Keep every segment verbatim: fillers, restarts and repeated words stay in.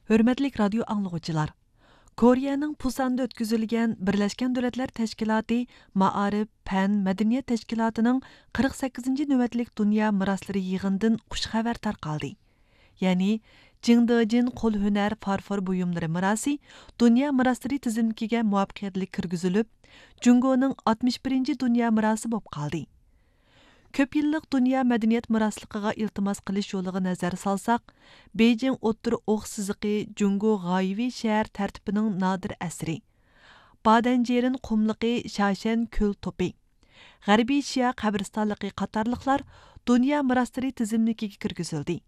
ھۆرمەتلىك رادىيو ئاڭلىغۇچىلار! كورېيەنىڭ پۇساندا ئۆتكۈزۈلگەن بىرلەشكەن دۆلەتلەر تەشكىلاتى مائارىپ، پەن، مەدەنىيەت تەشكىلاتىنىڭ قىرىق سەككىزىنچى نۆۋەتلىك دۇنيا مىراسلىرى يىغىنىدىن خۇش خەۋەر تارقالدى. يەنى، جىڭدېجىن قول ھۈنەر فارفور بۇيۇملىرى مىراسى دۇنيا مىراسلىرى تىزىملىكىگە مۇۋەپپەقىيەتلىك كىرگۈزۈلۈپ، جۇڭگونىڭ ئاتمىش بىرىنچى دۇنيا مىراسى بولۇپ قالدى. كۆپ يىللىق دۇنيا مەدەنىيەت مىراسلىقىغا ئىلتىماس قىلىش يولىغا نەزەر سالساق، بېيجىڭ ئوتتۇرا ئوق سىزىقى جۇڭگو غايىۋى شەھەر تەرتىپىنىڭ نادىر ئەسىرى، بادەنجىرىن قۇملۇقى شاشەن كۆل توپى، غەربىي شىئا قەبرىستانلىقى قاتارلىقلار دۇنيا مىراسلىرى تىزىملىكىگە كىرگۈزۈلدى.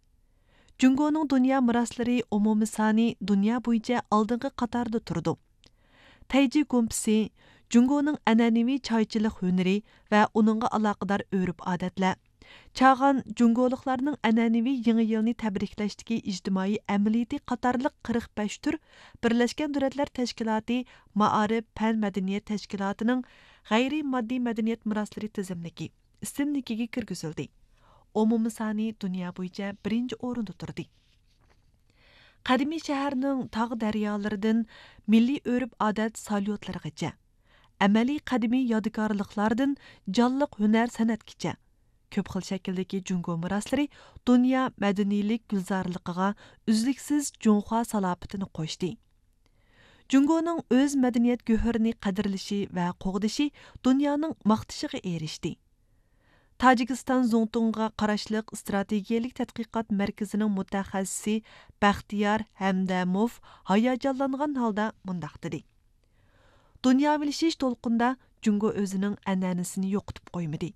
جۇڭگونىڭ دۇنيا مىراسلىرى ئومۇمىي سانى دۇنيا بويىچە ئالدىنقى قاتاردا تۇرىدۇ. تەيجى گۇمپىسى جۇڭگونىڭ ئەنئەنىۋى چايچىلىق ھۈنىرى ۋە ئۇنىڭغا ئالاقىدار ئۆرپ-ئادەتلەر، چاغان جۇڭگولۇقلارنىڭ ئەنئەنىۋى يېڭى يىلنى تەبرىكلەشتىكى ئىجتىمائىي ئەمەلىيىتى قاتارلىق قىرىق بەش تۈر بىرلەشكەن دۆلەتلەر تەشكىلاتى مائارىپ، پەن، مەدەنىيەت تەشكىلاتىنىڭ غەيرىي ماددىي مەدەنىيەت مىراسلىرى تىزىملىكى، ئىسىملىكىگە كىرگۈزۈلدى. ئومۇمىي سانى دۇنيا بويىچە بىرىنچى ئورۇندا تۇردى. قەدىمىي شەھەرنىڭ تاغ-دەريالىرىدىن مىللىي ئۆرپ-ئادەت ساليۇتلىرىغىچە، ئەمەلىي قەدىمىي يادىكارلىقلاردىن جانلىق ھۈنەر-سەنئەتكىچە، كۆپ خىل شەكىلدىكى جۇڭگو مىراسلىرى دۇنيا مەدەنىيلىك گۈلزارلىقىغا ئۈزلۈكسىز جۇڭخۇا سالاپىتىنى قوشتى. جۇڭگونىڭ ئۆز مەدەنىيەت گۆھىرىنى قەدىرلىشى ۋە قوغدىشى دۇنيانىڭ ماختىشىغا ئېرىشتى. تاجىكىستان زۇڭتۇڭغا قاراشلىق ئىستراتېگىيەلىك تەتقىقات مەركىزىنىڭ مۇتەخەسسىسى بەختىيار ھەمدەموف ھاياجانلانغان ھالدا مۇنداق دېدى: دۇنياۋىلىشىش دولقۇنىدا جۇڭگو ئۆزىنىڭ ئەنئەنىسىنى يوقىتىپ قويمىدى.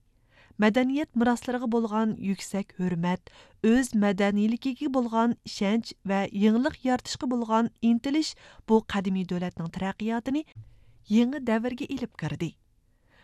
مەدەنىيەت مىراسلىرىغا بولغان يۈكسەك ھۆرمەت، ئۆز مەدەنىيلىكىگە بولغان ئىشەنچ ۋە يېڭىلىق يارىتىشقا بولغان ئىنتىلىش بۇ قەدىمىي دۆلەتنىڭ تەرەققىياتىنى يېڭى دەۋرگە ئېلىپ كىردى.